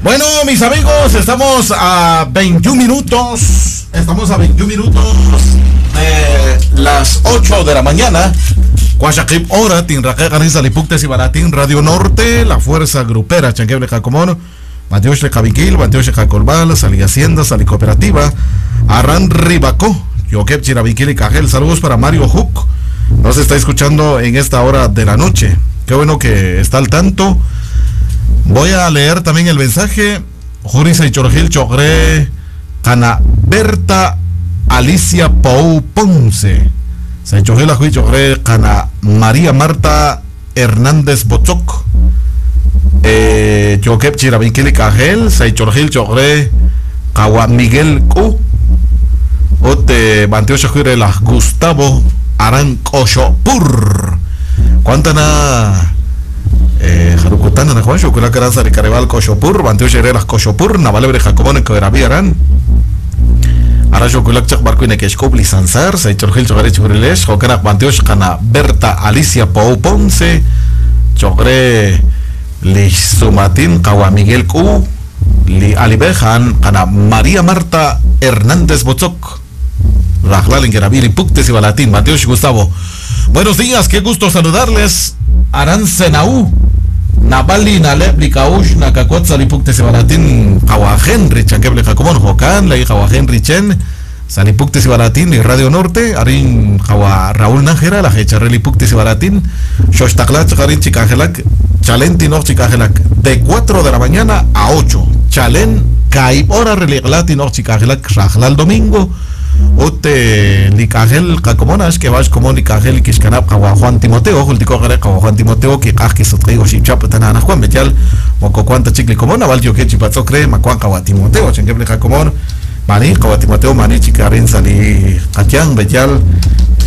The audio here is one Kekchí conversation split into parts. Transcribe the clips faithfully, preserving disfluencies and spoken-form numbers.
Bueno, mis amigos, estamos a veintiún minutos. Estamos a veintiún minutos de las ocho de la mañana. Cuachakip hora, Tinraque, Garisa, Lipuktes y Baratín, Radio Norte, la fuerza grupera, Chanqueble Jacomón, Mateosh Lejaviquil, Mateosh Jacolbal, Sali Hacienda, Sali Cooperativa, Arran Ribacó, Yoquep Chirabiquil y Cajel. Saludos para Mario Hook. Nos está escuchando en esta hora de la noche. Qué bueno que está al tanto. Voy a leer también el mensaje. Jurisa y Chorgil Chogre, Cana Berta Alicia Pou Ponce. Saichogil Ajuy Chogre, Cana María Marta Hernández Bochoc. Eh, Yoquep Chirabiquil y Cajel, Saichorgil Chogre, Kawa Miguel Q. Ote Banteosha Jure la Gustavo Aran Koshopur. Cuántana eh Jarukutana na Juan Shukula Karanza de Caribal Koshopur, Banteosha las Koshopur, Navalebre Jacobón Coerabi Aran. Ara Shukulak Chak Barco Inekeshkop Lisanzar, Saichorgil Chogre Churilesh, Jokenak Banteosh Kana Berta Alicia Pou Ponce, Chogre Lizumatín Kawa Miguel Q, Li Alibejan, Kana María Marta Hernández Bozoc. Rajlal Ingerabili, Puktes y Balatín, Mateosh Gustavo. Buenos días, qué gusto saludarles. Aran Senaú, Nabali, Naleb, Likaush, Nakakot, Salipuktes y Balatín, Kawa Henry, Chanqueble Jacobón, Jocán, la hija Henry Chen, Salipuktes y Balatín, y Radio Norte, Arin Kawa Raúl Nájera, la Hecharreli Puktes y Balatín, Shoshtaclach, Garin Chicajelac, Chalén Tinoch Chicajelac, de cuatro de la mañana a ocho. Chalén, Kaib, hora Religlatin, Chicajelac, Rajlal domingo. Ote likajel kakomonas que vas como likajel kishkanap kawa Juan Timoteo jultiko gare kawa Juan Timoteo ki kaj kisotri oshipchap tanana Juan betial moko cuanta chikli komona val yo que chipatzokre makuan kawa Timoteo chenkeble kakomon mani kawa Timoteo mani chikarin sali katian betial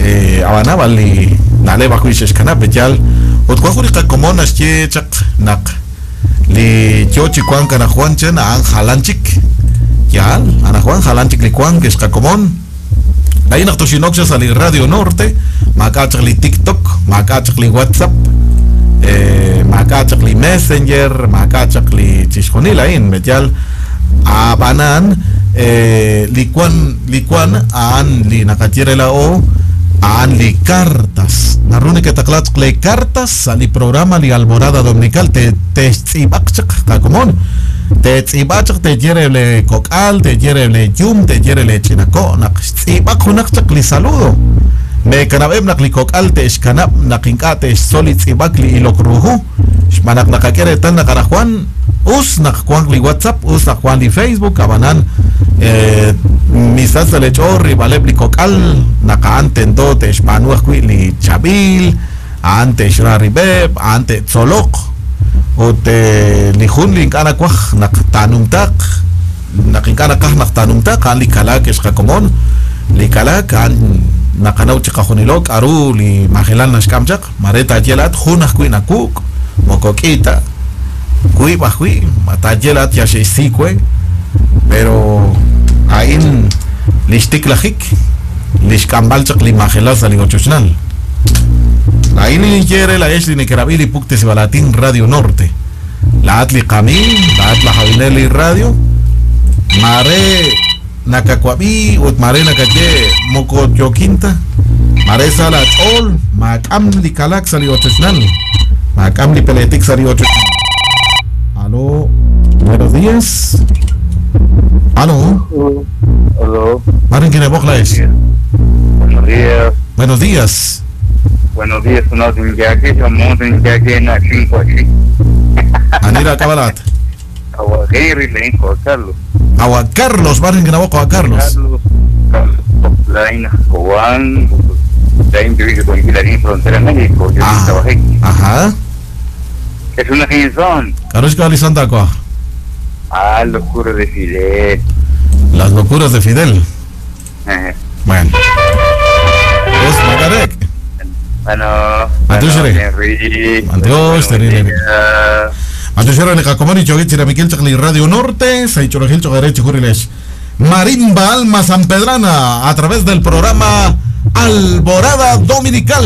eh abana vali nale bajo ishkanap betial otkuajuri kakomonas che chak nak li yo chikuan kana Juan chen an jalanchik ya ana Juan jalanchik likuan que es kakomon. Ahí naqtoxinoxas al Radio Norte, macachli TikTok, macachli WhatsApp, eh, macachli Messenger, macachli chishjonil ahí en betial abanan eh, likuan likuan aan li nakatiere la o aan li cartas. Narune que taclatzle cartas al programa li Alborada Dominical te te tzibakchak kakomon. Te tzibachak te yerele kokal, te yerele yum, te yerele chinako, nak tzibak hunakchak li saludo. Me kanabeb nak li kokal te ishkanab, nak inka te soli tzibak li ilokruhu. Shmanak nakakere tan nakarajuan, us nak juan li WhatsApp, us nak juan li Facebook, abanan eh, misas le chorri, baleb li kokal, naka antendo te shmanuaj li chabil, ante shraribeb, ante tzolok. Ote lihun linkana kwaj naktanumtak nakinkana kaj naktanumtak an likalak escakomon likalak an nakanau chikajunilok aru li magelan nashkamchak mareta yelat junaj kuinakuk mokokita kui bajui matayelat yashisikue pero ain lishtiklajik lishkambalchak li magelas aligochochnal. La ini quiere la Esli Nekerabili Puktes y Balatín Radio Norte. La Atli Camín, la Atla Javinelli Radio. Mare Nakakuabi, Ut Mare Nakaye Moko Yoquinta. Mare Salat Ol, Macam Likalak Sali Ochochnal. Macam Lipeletik Sali Ochochnal. Aló, buenos días. Aló. Aló. Maren Kinebokla es. Buenos días. Buenos días. Buenos días, no Anira Cabalat. Agua Henry, le dijo a Carlos. Agua Carlos, barren que a Carlos. Carlos, Carlos, Laina, Juan, frontera México, yo trabajé. Ajá. Es una canción. Carlos Calizanta, Ah, locuras de Fidel. Las locuras de Fidel. Bueno. Es Magarek. Bueno, Antushre. Antushre. Antushre le Jacomoni Choguichira Miquel Chacli Radio Norte, Saichorogil Chogarecho Jurilesh. Marimba Alma San Pedrana a través del programa Alborada Dominical.